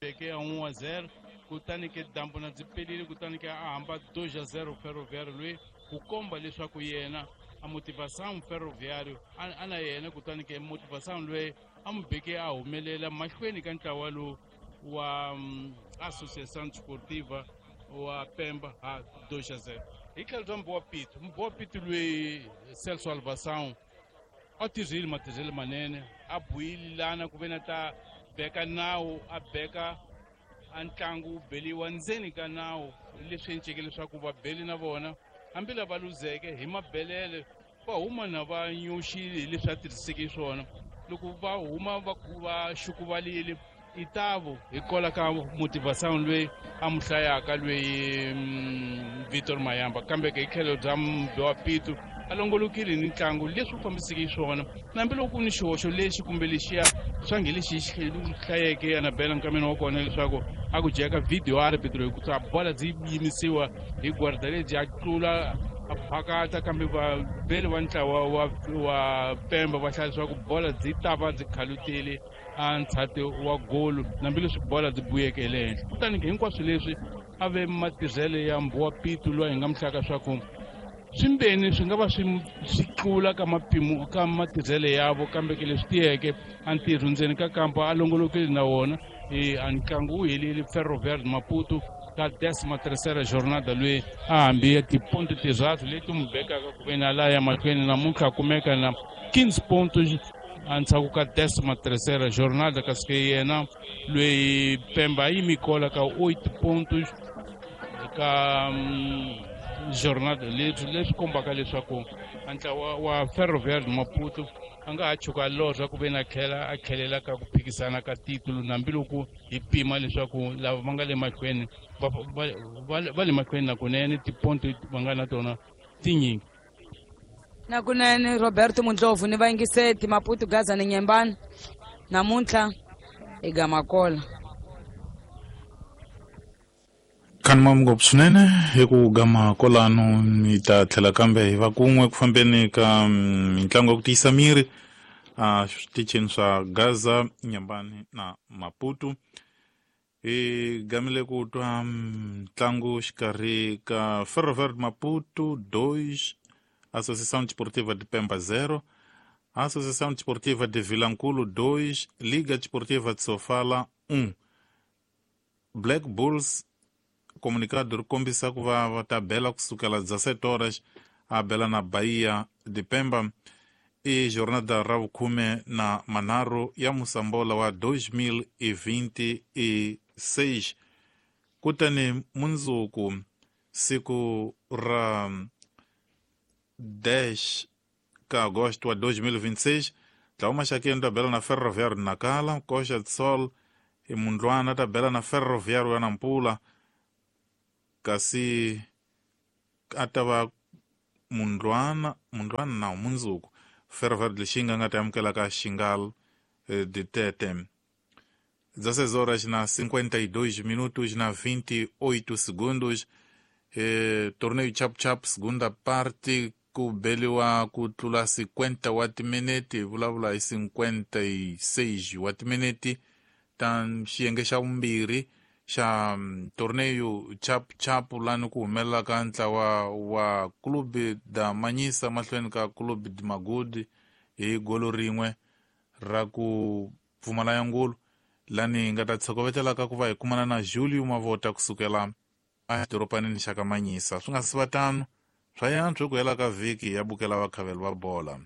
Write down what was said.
beke a 1-0 kutani ke dambu na byi pelile kutani ke a hamba 2-0 Ferroviário loyi ku komba leswaku yena a motivação Ferroviário a na yena kutani ke motivação loyi a n'wi beke a humelela mahlweni ka ntlawa lowu wa Associação Desportiva wa Pemba ha 2-0. Hi tlhelo bya Mbowa Pitu, Mbowa Pitu loyi Celso Alvação a tirhile matirhelo manene a buyilana ku ve na ta beka nawu a beka a ntlangu wu beliwa ndzeni ka nawu leswi enceke leswaku vabeli na vona hambi lava luzeke hi mabelele va huma na va nyoxile hi leswi a tirhiseke swona loko va huma va xukuvalile itavo hi kola ka motivation loyi a mu hlayaka loyi Victor Mayamba kambe ke hi tlhelo bya Mbewa Pitu a longolokile ni ntlangu leswi u fambiseke swona na hambiloko ku ni xihoxo lexi kumbe lexiya swa nge lexi xi hlayeke Anabela nkameni wa kona leswaku a ku jeka video arbitro hi ku ta bola byi yimisiwa hi guarda lebyi a tlula a phakata kambe vabeli va ntlawa wa Pemba va hlaya leswaku bola byi ta va byi khalutile a ntshati wa golo hambileswi bola byi buyeke hi le henhla kutani hinkwaswo leswi a ve matirhelo ya Mbowa Pitu loyi hi nga mihlaka swa ku swimbeni swi nga va swi tlula ka mapimo ka matirhelo yavo kambe ke leswi tiyeke a ntirho ndzeni ka kampa a longolokile na wona a ntlangu wu helile Ferroviário de Maputo ka 13ª jornada loyi a hambi tiponto tirhatu leti n'wi bekaka ku ve na laya mahlweni namuntlha a kumeka na 15 pontos endzhaku ka 13ª jornada kasi ke yena loyi Pemba a yimi kola ka 8 pontos ka jornada leswi kombaka leswaku a ntlawa wa Ferroviário de Maputo a nga ha chuka lorha ku ve na tlhela a tlhelela ka ku phikisana ka titulu hambiloko hi pima leswaku lava va nga le mahlweni va le mahlweni nakunene tiponto va nga na tona tinyingi. Nakunene Roberto Mundlovu ni vayingiseti Maputo Gaza ni Nyembani namuntlha hi Gamakola. Khanima ngopfu swinene hi ku gama kolano mi ta tlhela kambe hi va kun'we ku fambeni ka mitlangu ya ku tiyisa miri a switichini swa Gaza, Nyambani na Maputo. Hi gamile ku twa ntlangu xikarhi ka Ferroviário de Maputo 2, Associação Desportiva de Pemba 0, Associação Desportiva de Vilankulo 2, Liga Desportiva de Sofala 1. Black Bulls comunicado ri kombisa ku va va ta bela kusukela 17 horas a bela na Bahia de Pemba. I jornada ra vukhume na manharhu ya Musambola wa 2026. Kutani mundzuku siku ra 10 ka agosto wa 2026 ntlawa Maxakeni ta bela na Ferroviário Nacala, Coxa de Sol i Mundlwana ta bela na Ferroviário ya Nampula, kasi a ta va Mundlwana na mundzuku Ferroviário de Lixinga nga ta amukela ka Xingal de Tete. 16 horas na 52 minutos na 28 segundos. Torneio Chap Chap segunda parte ku beliwa ku tlula 50 wa timinete, hi vulavula hi 56 wa timinete ta xiyenge xa vumbirhi xa torneio Chap Chap lani ku humelela ka ntlawa wa Clube da Manyisa mahlweni ka Clube de Magudi hi golo rin'we ra ku pfumala ya ngulu lani hi nga ta tshokovetela ka ku va hi kumana na Julio Mavota kusukela edorobanini xa ka Manyisa. Swi nga si va tano swa yantswa ku hela ka vhiki ya bukela vakhaveli va bola.